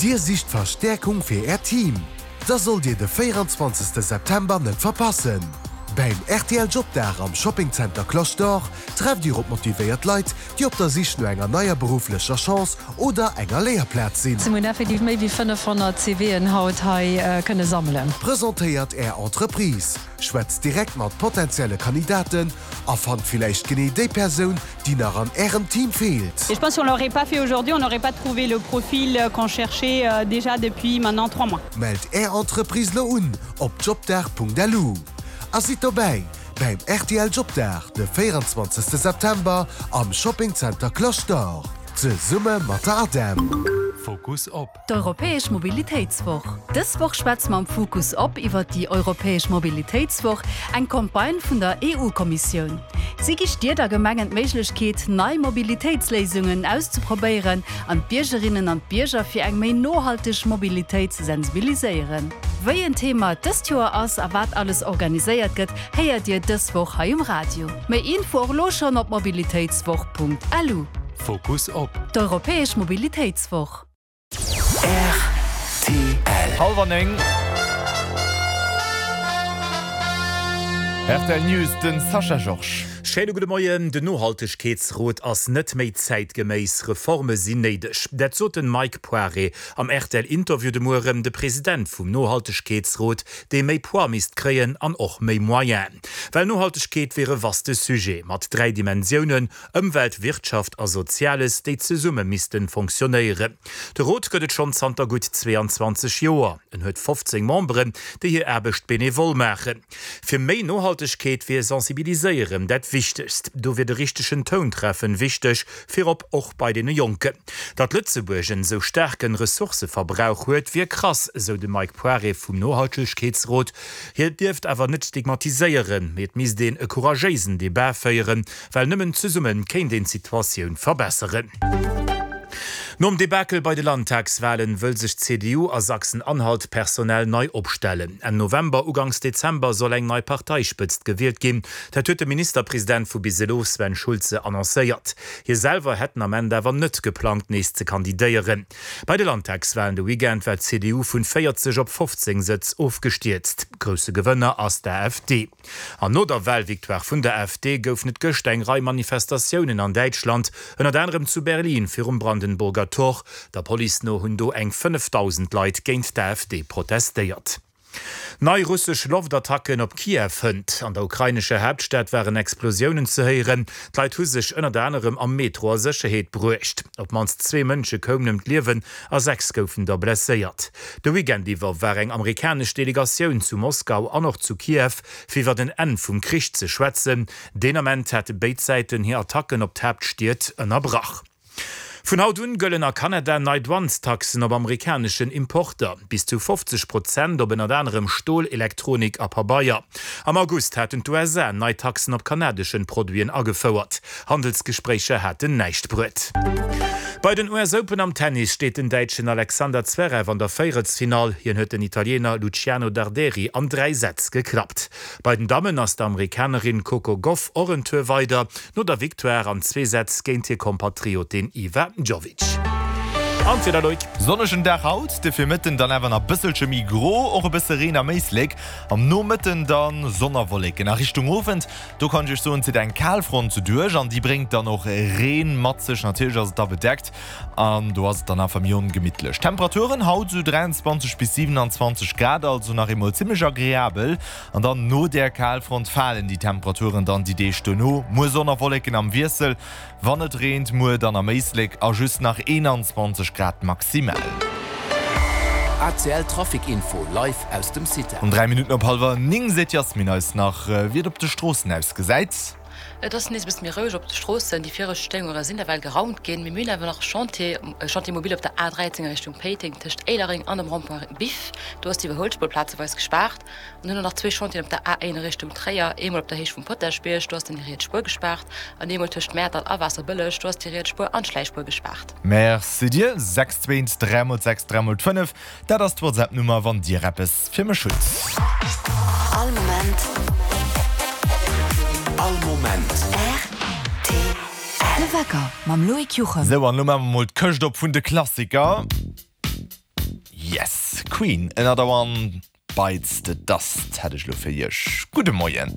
Dir sicht Verstäerkung fir Äert Team? Da sollt Dir de 24 September net verpassen! Beim rtl Jobdag am Shopping Center Cloche d'Or trefft Dir op motivéiert Leit, déi op der Sich no enger neier berufflecher Chance oder enger Léierplaz sinn. Mir hunn effektiv méi wéi 500 CVen haut hei kënne sammelen. Presentéiert Är Entreprise, schwätzt direkt mat potenzielle Kandidaten a fannt villäicht genee déi Persoun, déi nach an Ärem Team feelt. Et je pense si on l'aurait pas fait aujourd'hui, on n'aurait pas trouvé le profil qu'on cherchait déjà depuis maintenant 3 mois. Mellt Är Entreprise lo un op jobdag.lu a sidd dobäi beim rtl Jobdag de 24 September am Shopping Center Cloche d'Or zesumme mat der ADEM. Fokus op. D'Europäesch Mobilitéitswoch. Dës Woch schwätze mer am Fokus op iwwer déi Europäesch Mobilitéitswoch, eng Campagne vun der EU-Kommissioun. Si gi Stied a Gemengen d'Méiglechkeet, nei Mobilitéitsléisungen auszeprobéieren an d'Biergerinnen an d'Bierger fir eng méi nohalteg Mobilitéit ze sensibiliséieren. Wéi en Thema et dëst Joer ass a wat alles organiséiert gëtt, héiert Dir dës Woch hei um Radio. Méi Info och elo schonn op mobilitéitswoch.lu. Fokus op. D'Europäesch Mobilitéitswoch. Rtl. Hallwer 9. Rtl News, den Sascha Georges. Schéine gudde Moien. Den Nohaltegkeetsrot ass net méi zäitgeméiss, Reforme sinn néideg. Dat sot den Mike Poiré am RTL-Interview de Mueren, de President vum Nohaltegkeetsrot, dee méi Poids misst kréien an och méi Moyenen. Well Nohaltegkeet wier e vaste Sujet mat 3 Dimensiounen, Ëmwelt, Wirtschaft a Soziales, déi zesumme missten fonctionnéieren. De Rot gëtt et schonn zanter gutt 22 Joer. En huet 15 Memberen, déi hir Aarbecht benevol maachen. Fir méi Nohaltegkeet wier Sensibiliséieren dat Wichtegst. Do wier de richtegen Toun treffen wichteg, virop och bei deene Jonken. Datt Lëtzebuerg en esou staarken Ressourcëverbrauch huet, wier krass, esou de Mike Poiré vum Nohaltegkeetsrot. Hie dierft awer net stigmatiséieren, mee et misst een e couragéisen Debat féieren, Well nëmmen zesumme kéint een d'Situatioun verbesseren. Nom Debakel bei de Landtagswalen wëll sech d'CDU a Sachsen-Anhalt personell nei opstellen. Enn November, uganks Dezember soll eng nei Parteispëtzt gewielt ginn. Dat huet de Ministerpresident vu bis elo, Sven Schulze, annoncéiert. Hie selwer hätt den Ament awer net geplangt, nees ze kandidéieren. Bei de Landtagswalen de Weekend war d'CDU vun 40 op 15 Sëtz ofgestierzt. Grousse Gewënner ass d'AfD. An no der Walvictoire vun der AfD goufen et gëschter eng Rei Manifestatiounen an Däitschland, ënnert anerem zu Berlin virum Brandenburger Tor. Der Police no hunn do eng 5.000 Leit géint d'AfD protestéiert. Nei russesch Loftattacken op Kiew hënt. An der ukrainescher Haaptstad waren Explosiounen ze héieren. D'Leit hu sech ënnert anerem am Metro a Sécherheet bruecht. Op d'mannst zwee Mënsche koumen ëm d'Liewen a 6 goufen der blesséiert. De Weekend iwwer war eng amerikanesch Delegatioun zu Moskau an och zu Kiew, fir iwwer en Enn vum Krich ze schwätzen. Deen Ament hate béid Säiten hir Attacken op d'Haaptstied ënnerbrach. Vun haut un gëllen a Kanada nei Douanestaxen op amerikaneschen Importer, bis zu 50 Prozent op ënnert anerem Stol, Elektronik a Pabeier. Am August haten d'USA nei Taxen op kanadeschen Produiten agefouert. Handelsgespréicher haten näischt bruet. Bei den US Open am Tennis steet den Däitschen Alexander Zverev an der Véierelsfinall. Hien huet den Italiener Luciano Darderi an 3 Sätz geklappt. Bei den Dammen ass d'Amerikanerin Coco Gauff och en Tour weider, no der Victoire an zwee Sätz géint hir Kompatriotin Iva Jovic. An d'Wieder, Loïc? Sonnegen Dag haut, de Virmëtten dann awer nach bësselche méi gro, och e bësse Reen am Éislek. Am Nomëtten dann Sonn a Wolleken. A Richtung Owend Do kann ech iech soen, zitt eng Kalfront duerch an déi bréngt dann och Reen mat sech. Natierlech ass et da bedeckt an do ass et dann einfach méi ongemittlech. Temperaturen haut esou 23 bis 27 Grad, also nach eemol zimmlech agreabel. An dann no där Kalfront falen déi Temperaturen dann déi Deeg dono. Muer Sonn a Wolleken am Wiessel, Wann et reent, muer dann am Éislek a just nach 21 Grad maximal. ACL Trafic Info live aus dem CITEL. Um 3 Minutten op hallwer 9 seet d'Yasmine eis nach, wéi et op de Stroossen ausgesäit. Et ass nees e bësse méi roueg op de Stroossen. Déi viregt Stéierunge sinn ewell geraumt ginn. Mee mir hunn awer nach e Chantier, e Chantier mobile op der A13 a Richtung Péiteng tëscht Éilereng an dem Rond-point Biff. Do ass d'Iwwerhuelspuer plazeweis gespaart. An hunn och nach zwee Chantieren op der A1 a Richtung Tréier, eemol op der Héicht vum Potaschbierg, do ass den déi riets Spuer gespaart, an eemol tëscht Mäertert a Waasserbëlleg, do ass déi riets Spuer an d'Schläichspuer gespaart. Merci dir. 6 2 3 mol 6 3 mol 5, dat ass d'Whatsapp-Nummer, wann dir eppes fir mech hutt. All Moment. All Moment. Rtl. Wecker mam Loïc Juchem. Sou, an elo maache mer mol d'Këscht op vun de Klassiker. Yes, Queen, Another One Bites the Dust hätt ech elo fir iech. Gudde Moien.